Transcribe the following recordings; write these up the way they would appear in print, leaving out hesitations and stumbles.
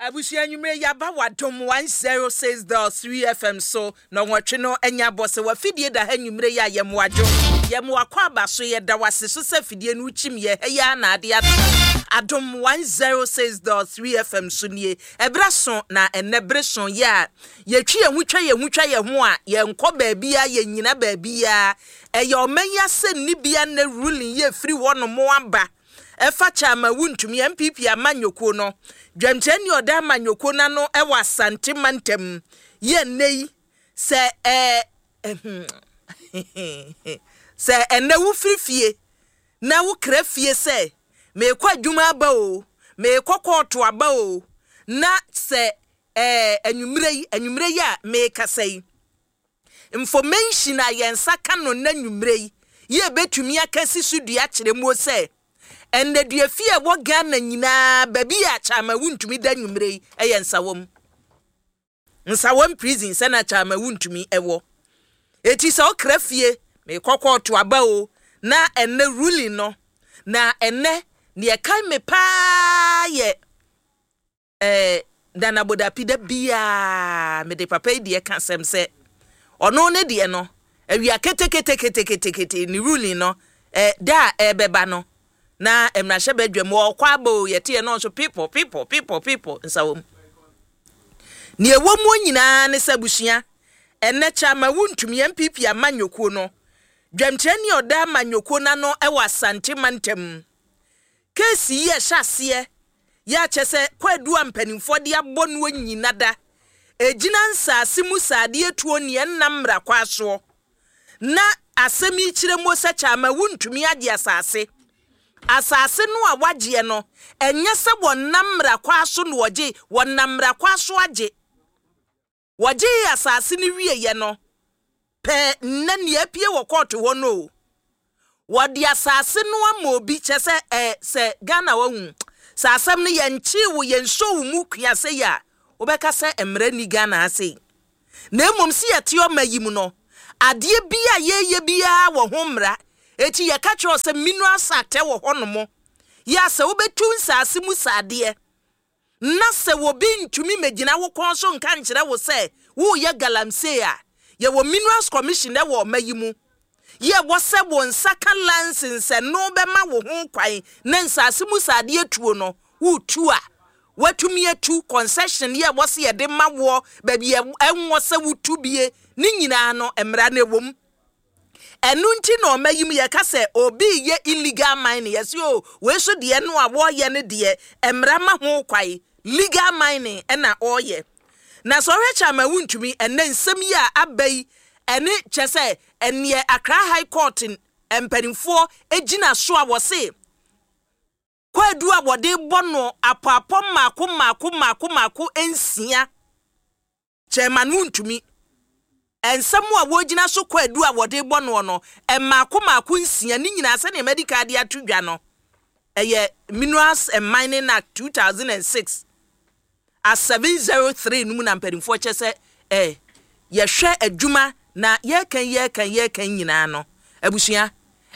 Abusua anwummere yi aba w'adom 106.3 FM so na ɔnwɔtwe no anya abɔ sɛ w'afidie da ha anwummere yi a yɛn wadwo yɛn wakɔ aba so yɛda w'ase so sɛ afidie no wokyim yɛ ha yi ara na ade ato adom 106.3 FM so nie ɛberɛ so na ɛnɛ bere so yɛ a yɛtwi yɛn ho twa yɛn ho twa yɛn ho a yɛnkɔ baabiara yɛnnyina baabiara ɛyɛ ɔman yi asɛnnibea nnɛ ruling yɛ firi hɔ nom aba ɛfa Chairman Wontumi NPP amanyɔkuo no dwamkyerɛni ɔda amanyɔkuo no ano ɛwɔ Asante mantam yɛ nnɛ yi sɛ ɛɛ sɛ ɛnnɛ wofiri fie na wokra fie sɛ meekɔ adwuma aba o meekɔ kɔɔto aba o na sɛ ɛɛ anwummerɛ yi anwummerɛ yi a meekasa yi information a yɛn nsa ka no na anwummerɛ yi yɛ bɛtumi aka si so dua kyerɛ mu sɛ ɛnnaduafi a ɛwɔ Ghana nyinaa baabi a Chairman Wontumi da anwummerɛ yi ɛyɛ Nsawam, Nsawam Prison sɛ na Chairman Wontumi ɛwɔ. Eti sɛ ɔkra fie meekɔ kɔɔto aba o na ɛnɛ ruling no na ɛnɛ neɛ ɛkae me paa yɛ Nana Bodapi da biara mede papa yi deɛ ka asɛm sɛ ɔno ne deɛ no awia keteketeketekete ne ruling no da a ɛbɛba no na mmarahyɛ badwam ɔkɔ aba o yɛte yɛ no nso people people people people Nsawam. Nea ɛwɔ mu nyinaa ne sɛ abusua ɛnɛ Chairman Wontumi NPP amanyɔkuo no dwamkyerɛni a ɔda amanyɔkuo no ano ɛwɔ Asante mantam case yi ɛhyɛ aseɛ yɛ akyɛ sɛ kwaadu a mpanimfoɔ de abɔ no nyina da ɛgyina nsaase mu saadeɛ tuo neɛ nnam mmara kwa soɔ na asɛm yi kyerɛ mu sɛ Chairman Wontumi agye asase asase no a wagyeɛ no ɛnyɛ sɛ wɔnam mmara kwa so na wɔgye wɔnam mmara kwa so agye wɔgye asase no wieɛ no pɛɛ nnɛ nea apue wɔ kɔɔto hɔ no o wɔde asase no ama obi kyɛ sɛ sɛ Ghana wahu sɛ asɛm no yɛnkyee wo yɛnhyɛ wo mu kua sɛ yi a wobɛka sɛ mmara ni Ghana ha sei na mmom sɛ yɛte ɔma yi mu no adeɛ bi a yɛyɛ biara wɔ ho mmara eti yɛka kyerɛ sɛ Minerals Act wɔ hɔnom yɛ a sɛ wobɛtu nsase mu saadeɛ na sɛ obi ntumi mmɛgyina wo kɔn so nka nkyerɛ wo sɛ woyɛ galamsey a yɛwɔ Minerals Commission wɔ ɔma yi mu yɛwɔ sɛ wo nsa ka license no bɛma wo ho kwan na nsase mu saadeɛ tuo no wotu a watumi atu concession yɛ wɔ sɛ yɛde ma woɔ baabi ɛnwɔ sɛ wotu bie ne nyinaa no mmara no ɛwɔ mu. Ɛno nti na ɔma yi mu yɛka sɛ obi yɛ illegal mining yɛsɛ o wei so deɛ no a wɔreyɛ no deɛ mmara ma ho kwan legal mining ɛna ɔreyɛ na sɛ ɔhwɛ Chairman Wontumi ɛnɛ nsɛm yi a aba yi ɛne kyɛ sɛ ɛneɛ Accra High Court mpanimfoɔ gyina so a wɔse kwaadu a wɔde bɔ no apɔapɔ mmaako mmaako mmaako mmaako nsia Chairman Wontumi nsɛm a wɔgyina so kwaadu a wɔde bɔ noɔ no mmaako mmaako nsia ne nyinaa sɛdeɛ medical de ato dwa no ɛyɛ Minerals and Mining Act 2006 a 703 no mu na mpanimfoɔ kyɛ sɛ yɛhwɛ adwuma na yɛreka yɛreka yɛreka nyinaa no abusua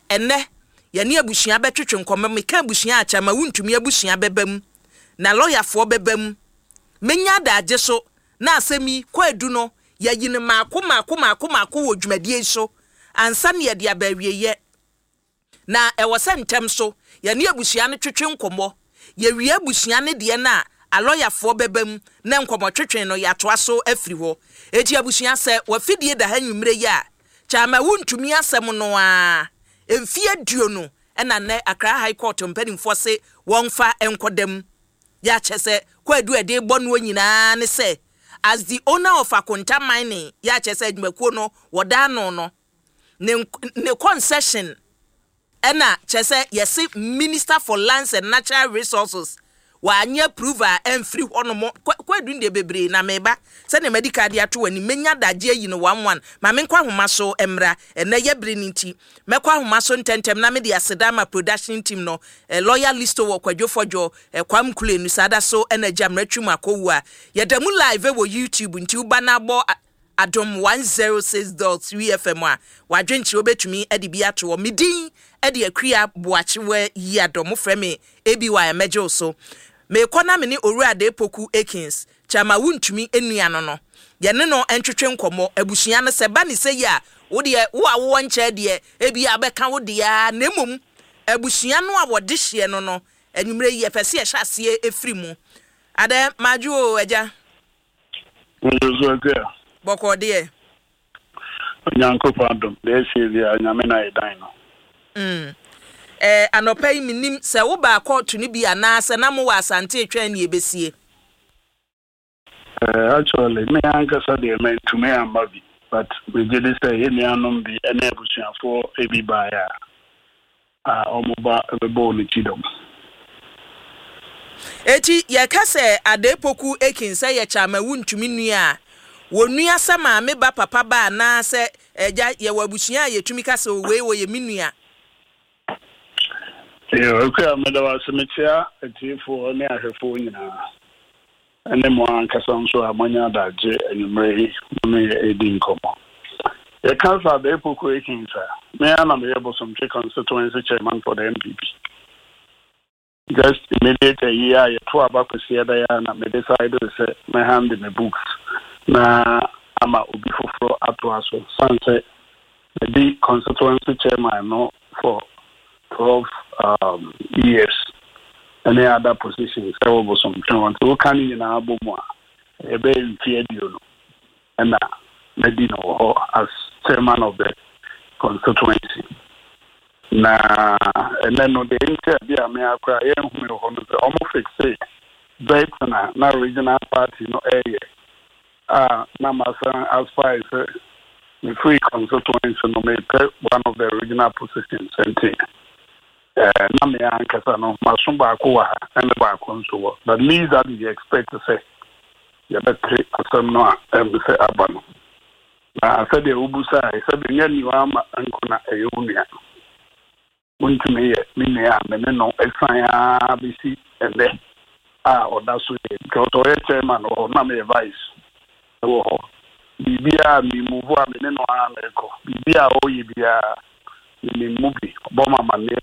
ɛnɛ yɛne abusua bɛtwetwe nkɔmmɔ meka abusua akyɛ ma Wontumi abusua bɛba mu na lɔyafoɔ bɛba mu menya adagye so na asɛm yi kwaadu no yɛyi no maako maako maako maako wɔ dwumadie yi so ansa ne yɛde aba awieyɛ na ɛwɔ sɛ ntɛm so yɛne abusua no twetwe nkɔmmɔ yɛwie abusua no deɛ no a alɔyafoɔ bɛba mu na nkɔmmɔ twetwe no yɛatoa so afiri hɔ eti abusua sɛ wafidie da ha nwummerɛ yi a Chairman Wontumi asɛm no a mfie 20 ɛna nnɛ Accra High Court mpanimfoɔ se wɔmfa nkɔdam yɛakyɛ sɛ kwaadu a ɛde bɔ noɔ nyinaa ne sɛ as the owner of Akonta Mining yɛakyɛ sɛ adwumakuo no wɔda ano no ne concession ɛna kyɛ sɛ yɛse Minister for Lands and Natural Resources wanyɛ approve a ɛmfiri hɔ nom kwaadu deɛ bebree na meba sɛdeɛ madi ka de ato w'anim menya adagye ayi no one one ma menkɔ ahoma so mmra ɛnɛ yɛ bere no nti mɛkɔ ahoma so ntɛntɛm na mede aseda ama production team no lawyer listo wɔ Kwadwo Fɔdwo Kwam Kulenu saa da so ɛna agya mmerɛtwi mu akɔwu a yɛda mu live wɔ YouTube nti woba na abɔ Adom 106.3 FM a wadwenkyerɛ wobɛtumi de bi ato hɔ. Me din de Akua Boakyewa yi adɔ mofrɛ me ABY a mɛgye wo so. Merekɔ na me ne Owura Adepoku Akins, Kyama Wontumi nua no no, yɛne no ntwetwe nkɔmmɔ. Abusua no, sɛ ɛba no sɛyi a, wo deɛ, wo a wowɔ nkyɛn deɛ, ebia wobɛka wo deɛ ara, na mmom abusua no a wɔde hyeɛ no no, anwummerɛ yi, yɛpɛ sɛ yɛhyɛ aseɛ firi mu. Adɛ, madwo o, agya. Madwo so, Akua. Bɔkɔɔ deɛ. Onyankopɔn adom, deɛ ɛsie biara, Nyame na yɛdan no. Mm. Eh, anɔpa yi mennim sɛ wobaa kɔɔto no bi anaa sɛ na mowɔ Asante retwɛn nea ɛbɛsie. Eh, actually, me ankasa deɛ mantumi amma bi, but megye di sɛ yɛn nuanom bi ne abusuafoɔ bi baeɛ a, a wɔba bɛbɔɔ no kyidɔm. Enti yɛka sɛ Adei Poku Akin sɛ yɛ kyɛ ama wuntumi nua a, wɔnua sɛ maame ba papa ba anaa sɛ agya, yɛwɔ abusua a yɛtumi ka sɛ o wei ɔyɛ me nua. Yoo Akua meda wo ase mekyea atiefoɔ ne ahwɛfoɔ nyinaa. Ne mo ankasa nso a moanya adagye anwummerɛ yi mo ne yɛn redi nkɔmmɔ. Yɛka sɛ Adei Poku Akins a, me ara na meyɛ Bosomtwe Constituency Chairman for the NPP. Just immediate ayi a yɛto aba Kwasiada yi ara na me decide sɛ mɛ hand me books na ama obi foforɔ atoa so sane sɛ Madi constituency chairman no for 12 years ne other positions wɔ Bosomtwe hɔ nti woka ne nyinaa bɔ mu a ɛyɛ bɛyɛ mfe 20 na madi no wɔ hɔ as chairman of the constituency. Na ɛnɛ no deɛ nti a bi a me ara koraa yɛnhu me wɔ hɔ no sɛ wɔn fixe vetting a na regional party no ɛreyɛ a na masan aspire sɛ mefiri constituency no mepɛ one of the regional positions nti eh, na me ankasa no maso baako wɔ ha ɛne baako nso wɔ, but least that you expect sɛ yɛbɛte asɛm no a ɛm sɛ aba no. Na sɛdeɛ wobusae sɛdeɛ nyɛ nniwa ama nko na ɛyɛ wo nua. Wontumi yɛ me nua a me ne no san ara bɛsi ɛnnɛ a ɔda so yɛ because ɔyɛ chairman wɔ hɔ na meyɛ vice wɔ hɔ. Biribiara a me move a me ne no ara na ɛkɔ. Biribiara a ɔyɛ biara menim mu bi. Ɔbɔ me amanneɛ.